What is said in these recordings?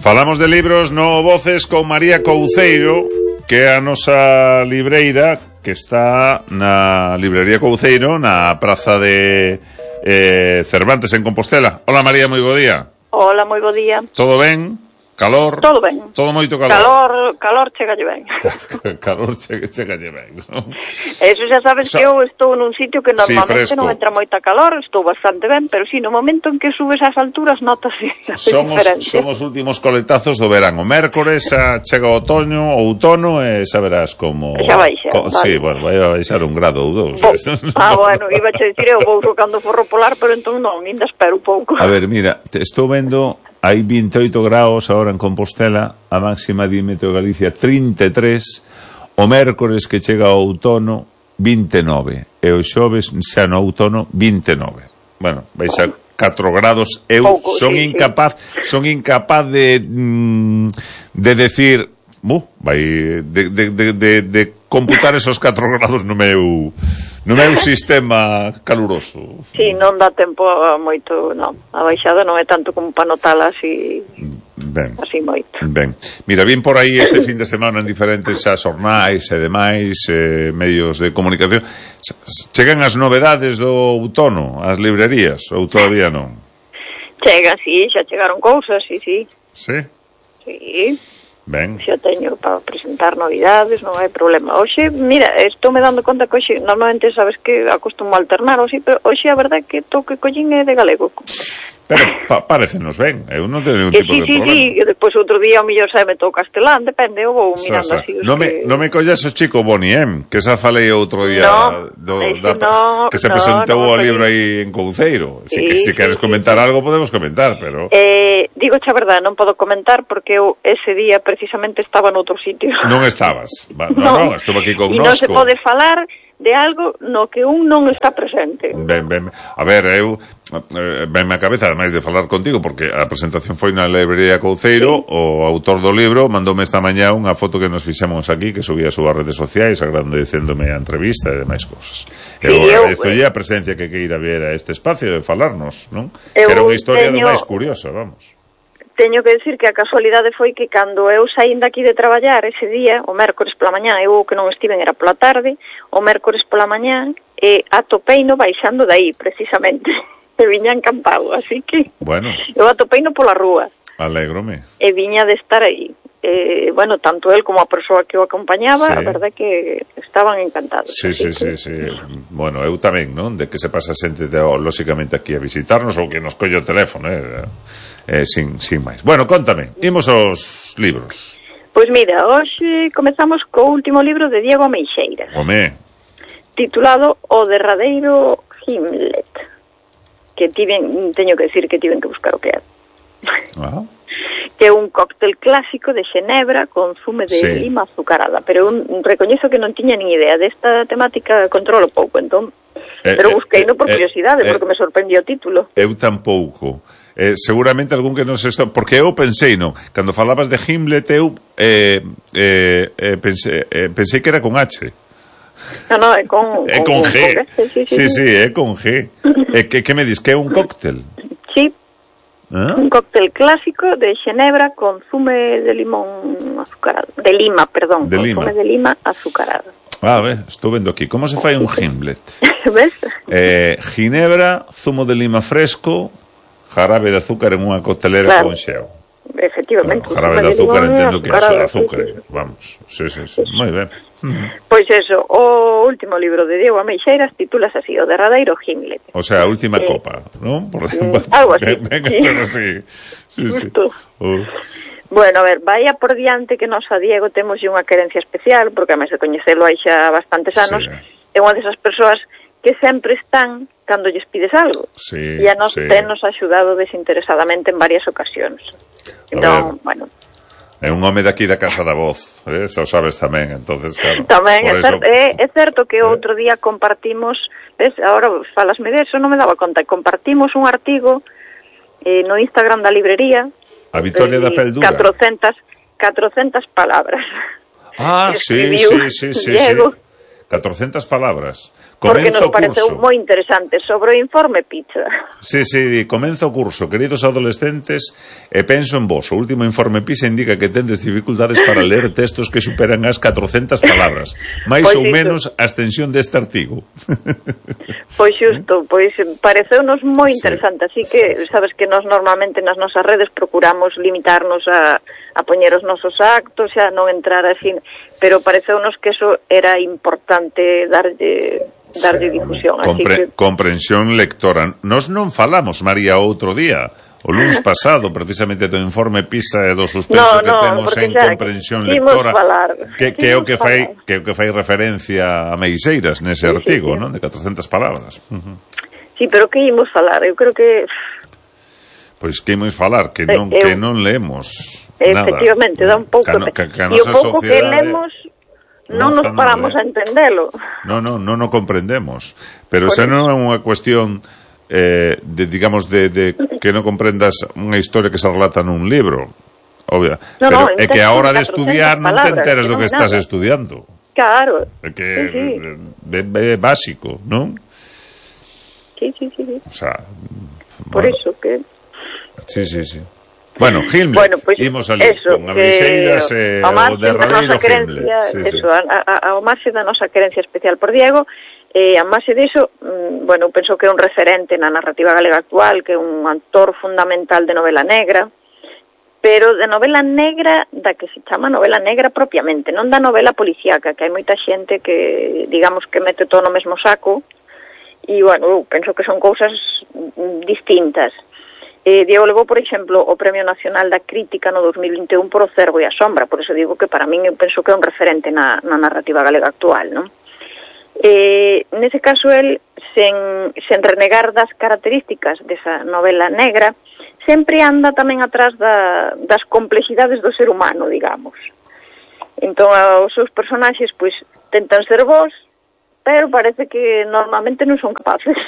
Falamos de libros no Voces con María Couceiro, que é a nosa libreira, que está na librería Couceiro, na praza de Cervantes, en Compostela. Hola María, moi bo día. Hola, moi bo día. Todo ben? Calor? Todo ben. Todo moito calor? Calor chegalle ben. Calor chegalle ben, non? Eso xa sabes que eu estou nun sitio que normalmente sí, non entra moita calor, estou bastante ben, pero si, no momento en que subes ás alturas notas a diferencia. Somos últimos coletazos do verán. O mércores chega o outono e xa verás como... Xa baixa, vale. Sí, bueno, vai a baixar 1 grado ou 2. Bueno, iba a dicir eu vou cando forro polar, pero entón non, ainda espero un pouco. A ver, mira, estou vendo... Hai 28 graus agora en Compostela, a máxima de Meteo Galicia 33, o mércores que chega ao outono 29, e o xoves xa no outono 29. Bueno, vais a 4 grados. Eu son incapaz de decir, vai de computar esos 4 grados no meu sistema caluroso. Si, non dá tempo a moito, non. A baixada non é tanto como para notala así. Ben. Así moito. Ben. Mira, vin por aí este fin de semana en diferentes xornais e demais medios de comunicación. Chegan as novedades do outono ás librerías ou todavía non? Chegan, si, xa chegaron cousas, si. Sí? Si. Ben. Xa teño para presentar novidades, non hai problema. Hoxe, mira, estou me dando conta que hoxe, normalmente sabes que acostumo a alternar, pero hoxe a verdade é que o que collín é de galego. Pero parécenos ben, eu non teño ningún tipo de problema. Sí, e depois outro día o mellor sabe todo castelán, depende, eu vou mirando así. Non me collas o chico Boniem, que xa falei outro día que se presentou o libro aí en Couceiro. Se queres comentar algo podemos comentar, pero... Digo xa verdade, non podo comentar porque eu ese día precisamente estaba noutro sitio. Non estabas? Non, estuve aquí con Nosco. E non se pode falar de algo no que un non está presente. Ben. A ver, eu venme a cabeza, ademais de falar contigo, porque a presentación foi na librería Couceiro, o autor do libro mandoume esta mañá unha foto que nos fixemos aquí, que subía as súas redes sociais, agradecéndome a entrevista e demais cousas. Eu agradezolle a presencia que queira ver a este espacio de falarnos, non? Que era unha historia do máis curiosa, vamos. Teño que decir que a casualidade foi que cando eu saín daqui de traballar ese día, o mércores pola mañá, eu que non estiven era pola tarde, o mércores pola mañá, e atopeino baixando daí, precisamente. E viña encantado, así que... Bueno. Eu atopeino pola rúa. Alégrome. E viña de estar aí. Bueno, tanto él como a persoa que o acompañaba, a verdade que estaban encantados. Sí. Bueno, eu tamén, non? De que se pasa xente lóxicamente aquí a visitarnos ou que nos colle o teléfono, sin máis. Bueno, contame, imos aos libros. Pois mira, hoxe comezamos co último libro de Diego Ameixeiras. Titulado O derradeiro Gimlet. Que teño que decir que tiven que buscar o que é. Que é un cóctel clásico de xenebra con zume de lima azucarada, pero recoñezo que non tiña nin idea desta temática, controlo pouco, entón, pero busqueino por curiosidade, porque me sorprendió o título. Eu tampouco. Seguramente algún que non se está, porque eu pensei, non, cando falabas de Gimlet eu pensei que era con H. No, é con G. Sí, é con G. Que me dis que é un cóctel? Sí. Un cóctel clásico de xenebra con zume de limón azucarado. De lima, perdón. Zume de lima azucarado. Estou vendo aquí. Como se fai un Gimlet? Ves? Ginebra, zumo de lima fresco, jarabe de azúcar en unha coctelera con xeo. Efectivamente. Jarabe de azúcar, entendo que é azúcar. Vamos. Sí. Moi ben. Pois eso, o último libro de Diego Ameixeiras titúlase así, O derradeiro Gimlet. O sea, a última copa, non? Algo así. Venga a ser así. Sí. Bueno, a ver, vaya por diante que nós a Diego temos unha querencia especial, porque a máis de coñecelo hai xa bastantes anos, é unha desas persoas que sempre están cando lles pides algo. E a nos tenos axudado desinteresadamente en varias ocasións. Entón, bueno... É un home daqui da Casa da Voz, xa o sabes tamén, entonces claro. Tamén, é certo que outro día compartimos, ves, agora falasme deso, non me daba conta, compartimos un artigo no Instagram da librería, a Vitoria da Peldura, 400 palabras. Sí. 400 palabras. Porque nos pareceu moi interesante sobre o informe PISA. Sí, comenzo o curso, queridos adolescentes, e penso en vos. O último informe PISA indica que tendes dificultades para ler textos que superan as 400 palabras. Mais ou menos a extensión deste artigo. Pois xusto, pareceunos moi interesante, así que sabes que nós normalmente nas nosas redes procuramos limitarnos a poñer os nosos actos, a non entrar así, pero pareceunos que eso era importante darlle difusión. Comprensión lectora. Nos non falamos, María, outro día, o lunes pasado, precisamente do informe PISA e do suspenso que temos en comprensión lectora, que é o que fai referencia a Meixeiras nese artigo, non? De 400 palabras. Sí, pero que imos falar? Eu creo que... Pois que imos falar? Que non leemos nada. Efectivamente, dá un pouco... E o pouco que lemos non nos paramos a entendelo. Non o comprendemos. Pero esa non é unha cuestión digamos de que non comprendas unha historia que se relata nun libro, obvia. Pero é que a hora de estudiar non te enteras do que estás estudiando. Claro. É que é básico, non? Sí. O sea, por eso que... Sí. Bueno, Gimlet, imos ali con a Meixeiras e o derradeiro Gimlet. Ao marxe da nosa querencia especial por Diego, a marxe diso, penso que é un referente na narrativa galega actual, que é un autor fundamental de novela negra, pero de novela negra da que se chama novela negra propiamente, non da novela policíaca, que hai moita xente que, digamos, que mete todo no mesmo saco, e, eu penso que son cousas distintas. Diego levou, por exemplo, o Premio Nacional da Crítica no 2021 por O Cervo e a Sombra, por eso digo que para min eu penso que é un referente na narrativa galega actual, non? Nese caso, el, sen renegar das características desa novela negra, sempre anda tamén atrás das complexidades do ser humano, digamos. Entón, os seus personaxes, tentan ser vós, pero parece que normalmente non son capaces.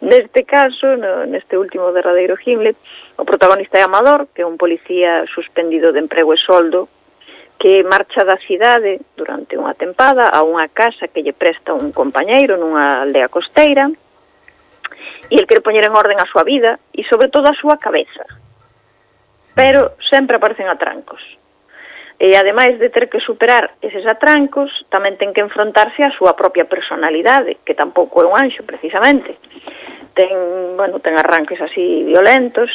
Neste caso, neste último derradeiro Gimlet, o protagonista é Amador, que é un policía suspendido de emprego e soldo, que marcha da cidade durante unha tempada a unha casa que lle presta un compañeiro nunha aldea costeira, e el quere poñer en orden a súa vida e sobre todo a súa cabeza, pero sempre aparecen atrancos. E ademais de ter que superar eses atrancos, tamén ten que enfrontarse á súa propia personalidade, que tampouco é un anxo, precisamente. Ten arranques así violentos.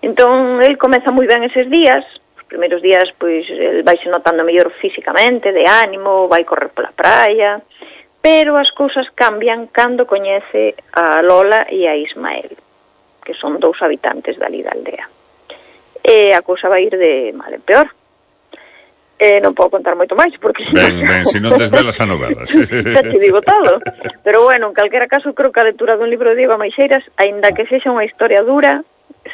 Entón, el comeza moi ben eses días. Os primeiros días, el vaise notando mellor físicamente, de ánimo, vai correr pola praia, pero as cousas cambian cando coñece a Lola e a Ismael, que son 2 habitantes dali da aldea. E a cousa vai ir de mal en peor. Non podo contar moito máis, porque... Ben, se non desvelas a novela. Xa te digo todo. Pero, en calquera caso, creo que a lectura dun libro de Diego Meixeiras, aínda que sexa unha historia dura,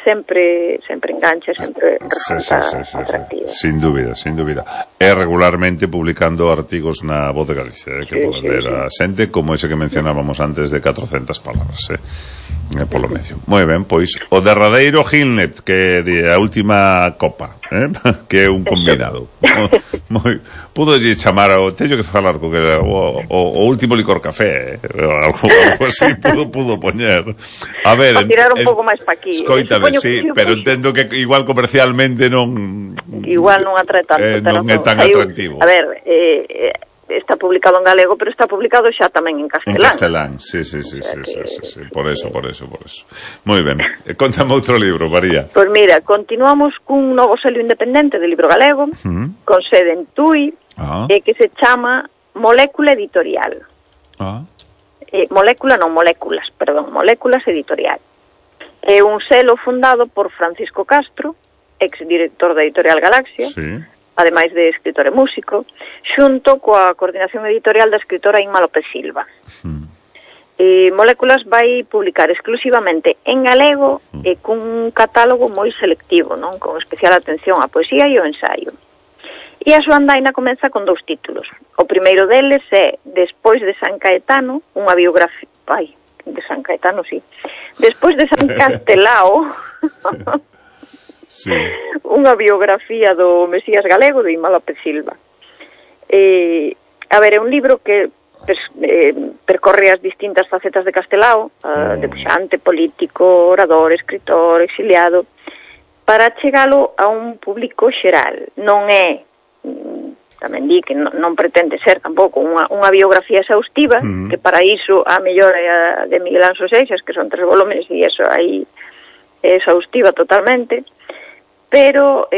sempre engancha, sempre resulta atractiva. Sin dúbida. É regularmente publicando artigos na Voz de Galicia, que poden ler a xente, como ese que mencionábamos antes de 400 palabras, polo medio. Moi ben, pois, o derradeiro Gimlet, que é a última copa, que é un combinado. Pudo chamar teño que falar con o último licor café, algo así pudo poñer. A ver, a tirar un pouco máis pa aquí. Escoítame, sí, pero entendo que igual comercialmente non atrae tanto, non é tan atractivo. A ver, está publicado en galego, pero está publicado xa tamén en castelán. En castelán, sí. Por eso. Moi ben. Contame outro libro, María. Pois mira, continuamos cun novo selo independente de libro galego, con sede en Tui, que se chama Molécula Editorial. Moléculas Editorial. É un selo fundado por Francisco Castro, ex-director da Editorial Galaxia, ademais de escritor e músico, xunto coa coordinación editorial da escritora Inma López Silva. Moléculas vai publicar exclusivamente en galego e cun catálogo moi selectivo, non, con especial atención á poesía e ao ensaio. E a súa andaina comeza con 2 títulos. O primeiro deles é Despois de San Caetano, unha biografía... de San Caetano, sí. Despois de San Castelao, unha biografía do Mesías galego de Inma López Silva. A ver, é un libro que percorre as distintas facetas de Castelao, debuxante, político, orador, escritor, exiliado, para chegalo a un público xeral. Non é, tamén di que non pretende ser tampouco unha biografía exhaustiva, que para iso a mellor é a de Miguel Anxo Seixas, que son 3 volumes e eso aí é exhaustiva totalmente, pero,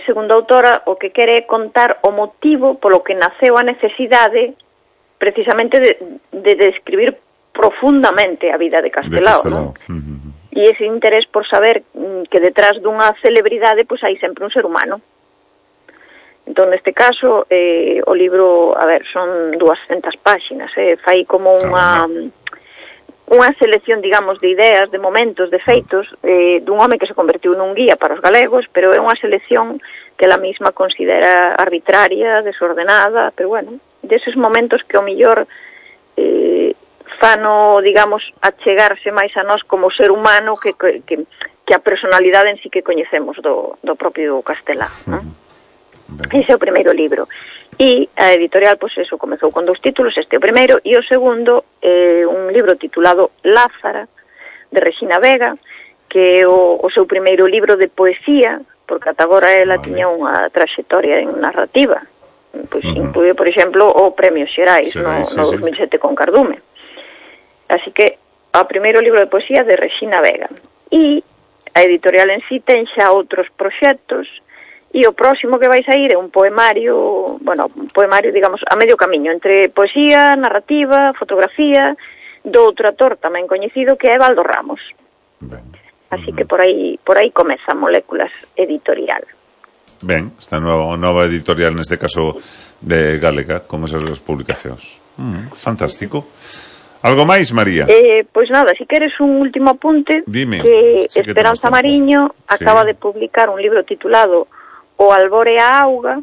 segundo a autora, o que quere é contar o motivo polo que naceu a necesidade precisamente de describir profundamente a vida de Castelao, ¿no? E ese interés por saber que detrás dunha celebridade pois hai sempre un ser humano. Entón, neste caso, o libro, a ver, son 200 páxinas, fai como unha selección, digamos, de ideas, de momentos, de feitos, dun home que se convertiu nun guía para os galegos, pero é unha selección que ela mesma considera arbitraria, desordenada, pero bueno, deses momentos que o millor fano, digamos, achegarse máis a nós como ser humano que a personalidade en sí que coñecemos do propio Castelao, non? Ese é o primeiro libro. E a editorial, pois eso, comezou con 2 títulos, este é o primeiro, e o segundo é un libro titulado Lázara, de Regina Vega, que é o seu primeiro libro de poesía, porque ata agora ela tiña unha traxectoria en narrativa. Pois incluye, por exemplo, o Premio Xerais no 2007 con Cardume. Así que o primeiro libro de poesía de Regina Vega. E a editorial en sí ten xa outros proxectos, e o próximo que vai sair é un poemario, digamos, a medio camiño entre poesía, narrativa, fotografía, do outro autor tamén coñecido que é Baldo Ramos. Así que por aí comeza Moléculas Editorial. Ben, esta nova editorial, neste caso de Galega, con esas 2 publicacións. Fantástico. Algo máis, María? Pois nada, si queres un último apunte. Dime. Que Esperanza Mariño acaba de publicar un libro titulado O albor e a auga,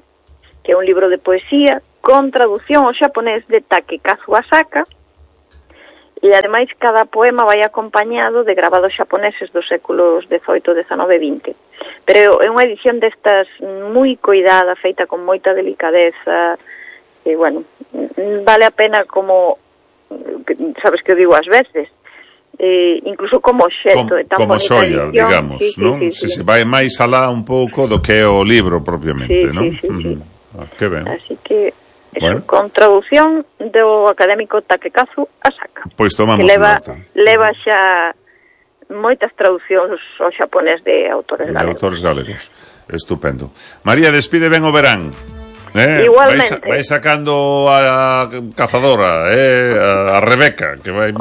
que é un libro de poesía con traducción ao xaponés de Takekazu Asaka, e ademais cada poema vai acompañado de grabados xaponeses dos séculos XVIII, XIX e XX. Pero é unha edición destas moi coidada, feita con moita delicadeza, e bueno, vale a pena como, sabes que eu digo ás veces, incluso como xeto, tan como bonita xoia, edición, digamos, non? Se vai máis alá un pouco do que é o libro propiamente, non? Sí. Que ben. Así que eso, con traducción do académico Takekazu Asaka. Pois tomamos nota. Leva xa moitas traducións ao xaponés de autores galegos. Estupendo. María, despide ben o verán. Igualmente. Vai sacando a cazadora, a Rebeca, que vai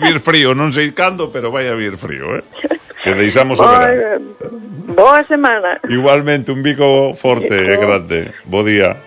vir frío, non sei cando, pero vai a vir frío, que deixamos o verán. Boa semana. Igualmente, un bico forte e grande. Bo día.